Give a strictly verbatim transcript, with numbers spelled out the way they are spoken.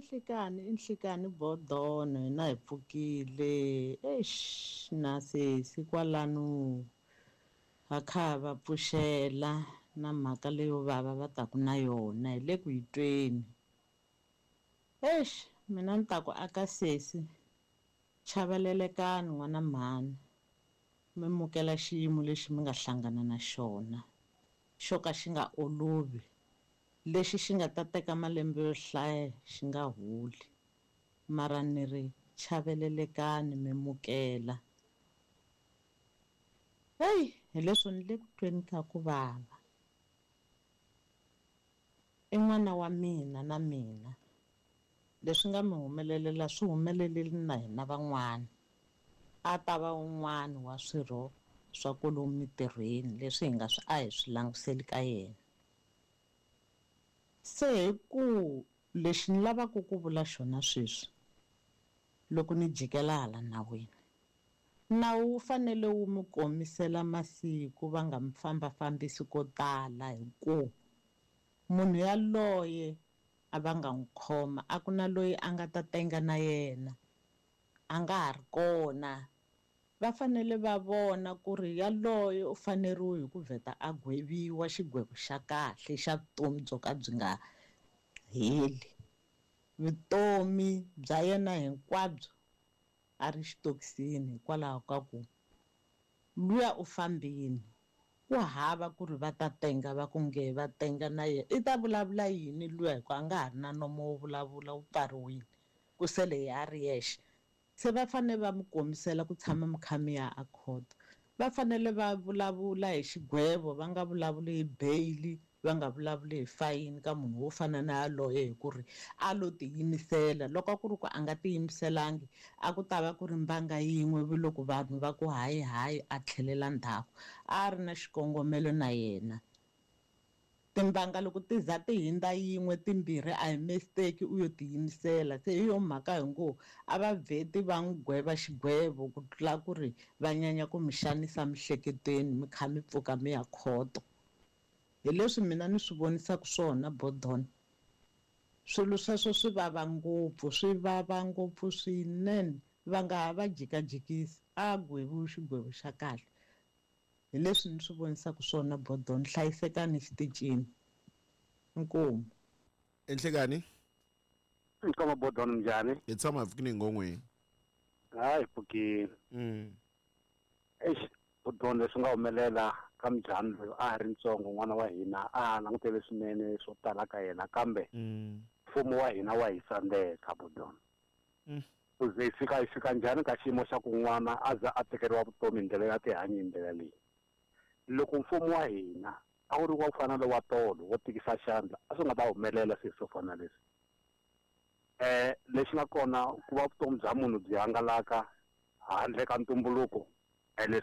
Nhlikani i nhlikani bodono hina hi pfukile eish na sesi kwalano va kha va pfuxela na mhaka leyo vava va taku na yona hi le ku yi tweni eish mina ni ta ku aka sesi chavelelekani n'wana mhani mi mukela xiyimo lexi mi nga hlangana na xona xo ka xi nga olovi lexi xi nga ta teka malembe yo hlaya xi nga holi mara ni ri chavelelekani mi mukela heyi hi leswo ni le ku tweni ka ku vava i n'wana wa mina na mina leswi nga mi humelelela swi humelelile na hina van'wana a ta va un'wana wa swirho swa kwalomu mintirhweni leswi hi nga swi a hi swi languseli ka yena se hi ku lexi ni lavaka ku vula xona sweswi loko ni jikela hala nawini nawu wu fanele wu mi komisela masiku va nga mi fambafambisi ko tala hi ku munhu yaloye a va nga n'wi khoma a ku na loyi a nga ta tenga na yena a nga ha ri kona va fanele va vona ku ri yaloye u faneriwe hi ku vheta a gweviwa xigwevo xa kahle xa vutomi byo ka byi nga heli vutomi bya yena hinkwabyo a ri xitokisini hikwalaho ka ku luya u fambini ku hava ku ri va ta tenga va ku nge va tenga na yena i ta vulavula yini luya hikuva a nga ha ri na nomo wo vulavula wu pfariwile ku sele ya ri yexe se va fanele va mi komisela ku tshama mi kha mi ya a khoto va fanele va vulavula hi xigwevo va nga vulavuli hi bail va nga vulavuli hi fayini ka munhu wo fana na yaloye hi ku ri a lo tiyimisela loko a ku ri ku a nga tiyimiselangi a ku ta va ku ri mbanga yin'we loko vanhu va ku hayi hayi a tlhelela ndzhaku a ri na xikongomelo na yena timbanga loko ti za ti hindza yin'we timbirhi a hi mistake u yo tiyimisela se hi yo mhaka hi ngo a va vheti va n'wi gweva xigwevo ku tlula ku ri va nyanya ku mi xanisa miehleketweni mi kha mi pfuka mi ya khoto hi leswi mina ni swi vonisaka swona bodon swilo sweswo swi vava ngopfu swi vava ngopfu swinene va nga ha va jikajikisi a gweviwi xigwevo xa kahle hi leswi ni swi vonisaka swona bodon hlayisekani xitichini inkomu enhlekani Nkama bodon njhani hi tshama hi pfukini ngongweni hayi pfukini mm eish bodon leswi nga humelela ka mujhani loyi a ha ri ntsongo n'wana wa hina a langutele swinene swo tala ka yena kambe mfumo wa hina wa hi tsandzeka bodon ku ze hi fika hi fika njhani ka xiyimo xa ku n'wana a za a tekeriwa vutomi hi ndlela ya tihanyi hi ndlela leyi loko mfumo wa hina a wu ri wa ku fana na wa tolo wo tikisa xandla a swi nga ta humelela swilo swo fana leswi um lexi nga kona ku va vutomi bya munhu byi hangalaka handle ka ntumbuluko leswi